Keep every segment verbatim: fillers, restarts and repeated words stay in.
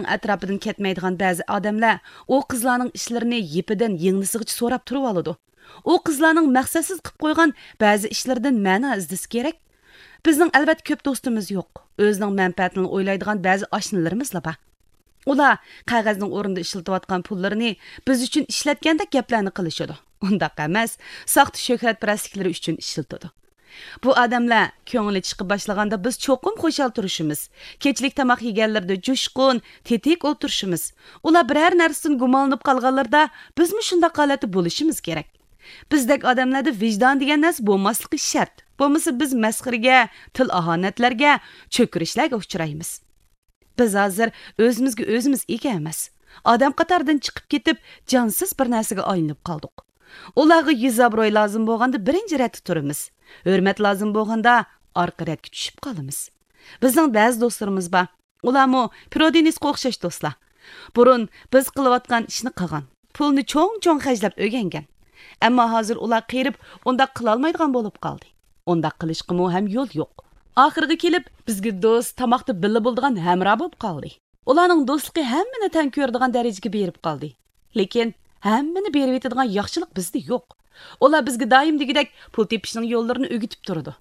ئەتراپىدىن كەتمەيدىغان بەزى ئادەملەر ئۇ قىزلارنىڭ ئىشلىرىنى يىپىدىن يىڭنىسىغىچە سوراپ تۇرۇۋالىدۇ. ئۇ قىزلارنىڭ مەقسەتسىز قىلىپ قويغان بەزى ئىشلىرىدىن مەنا ئىزدىسى كېرەك. بىزنىڭ ئەلۋەتتە كۆپ دوستىمىز يوق. ئۆزىنىڭ مەنپەئەتىنى ئويلايدىغان بەزى ئاشنىلىرىمىزلا بار. ئۇلار قەغەزنىڭ ئورنىدا ئىشلىتىۋاتقان پۇللىرىنى بىز ئۈچۈن ئىشلەتكەندەك گەپلەرنى قىلىشىدۇ. ئۇنداق ئەمەس، ساختا شۆھرەتپەرەسلىكلىرى ئۈچۈن ئىشلىتىدۇ. بۇ ئادەملەر كۆڭلى چىقىپ باشلىغاندا بىز چوقۇم خۇشال تۇرۇشىمىز. كەچلىك تاماق يېگەنلىرىدە جۇشقۇن، تېتىك ئولتۇرۇشىمىز. ئۇلار بىرەر نەرسىدىن گۇمانلىنىپ قالغانلىرىدا بىزمۇ شۇنداق ھالەتتە بولۇشىمىز كېرەك. بىزدەك ئادەملەردە ۋىجدان دېگەن نەرسە بولماسلىقى شەرت. بولمىسا بىز مەسخىرىگە، تىل ئاھانەتلەرگە، چۆكۈرۈشلەرگە ئۇچرايمىز. بىز ھازىر ئۆزىمىزگە ئۆزىمىز ئىگە ئەمەس. ئادەم قاتارىدىن چىقىپ كېتىپ، جانسىز بىر نەرسىگە ئايلىنىپ قالدۇق. ئۇلارغا يۈز ئابروي لازىم بولغاندا بىرىنچى رەتتە تۇرىمىز. ھۆرمەت لازىم بولغاندا ئارقا رەتكە چۈشۈپ قالىمىز. بىزنىڭ بەزى دوستلىرىمىز بار. ئۇلارمۇ پرودېنىسقا ئوخشاش دوستلار. بۇرۇن بىز قىلىۋاتقان ئىشنى قىلغان، پۇلنى چوڭ-چوڭ خەجلەپ ئۆگەنگەن. ئەمما ھازىر ئۇلار قېرىپ، ئۇنداق قىلالمايدىغان بولۇپ قالدى. ئۇنداق قىلىشقىمۇ ھەم يول يوق. ئاخىرىغا كېلىپ، بىزگە دوست، تاماقتا بىللە بولىدىغان ھەمراھ بولۇپ قالدى. ئۇلارنىڭ دوستلۇقى ھەممىنى تەڭ كۆرىدىغان دەرىجىگە بېرىپ قالدى. لېكىن ھەممىنى بېرىۋېتىدىغان ياخشىلىق بىزدە يوق. ئۇلار بىزگە دائىم دېگۈدەك پۇل تېپىشنىڭ يوللىرىنى ئۆگىتىپ تۇرىدۇ.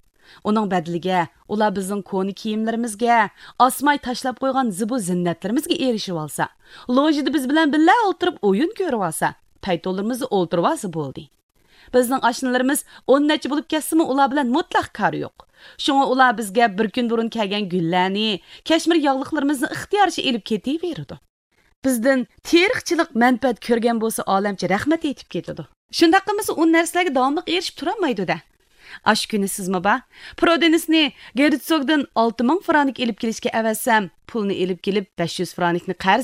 ئۇنىڭ بەدىلىگە ئۇلار بىزنىڭ كونا كىيىملىرىمىزگە، ئاسماي تاشلاپ قويغان زىبۇ زىننەتلىرىمىزگە ئېرىشىۋالسا، لوژىدا بىز بىلەن بىللە ئولتۇرۇپ ئويۇن كۆرۈۋالسا، پەيتۇنلىرىمىزدا ئولتۇرۇۋالسا بولدى. بىزنىڭ ئاشنىلىرىمىز ئون نەچچە بولۇپ كەتسىمۇ، ئۇلار بىلەن مۇتلەق كارى يوق. شۇڭا ئۇلار بىزگە بىر كۈن بۇرۇن كەلگەن گۈللەرنى، كەشمىر ياغلىقلىرىمىزنى ئىختىيارىچە ئېلىپ كېتىۋېرىدۇ. بىزدىن تېرىقچىلىق مەنپەئەت كۆرگەن بولسا، ئالەمچە رەھمەت ئېيتىپ كېتىدۇ. شۇنداق قىلمىسا، ئۇ نەرسىلەرگە داۋاملىق ئېرىشىپ تۇرالمايدۇ-دە. ئاشۇ كۈنى سىزمۇ بار. پرودېنىسنى گېرتسوگدىن ئالتە مىڭ فرانك ئېلىپ كېلىشكە ئەۋەتسەم، پۇلنى ئېلىپ كېلىپ، بەش يۈز فرانكنى قەرز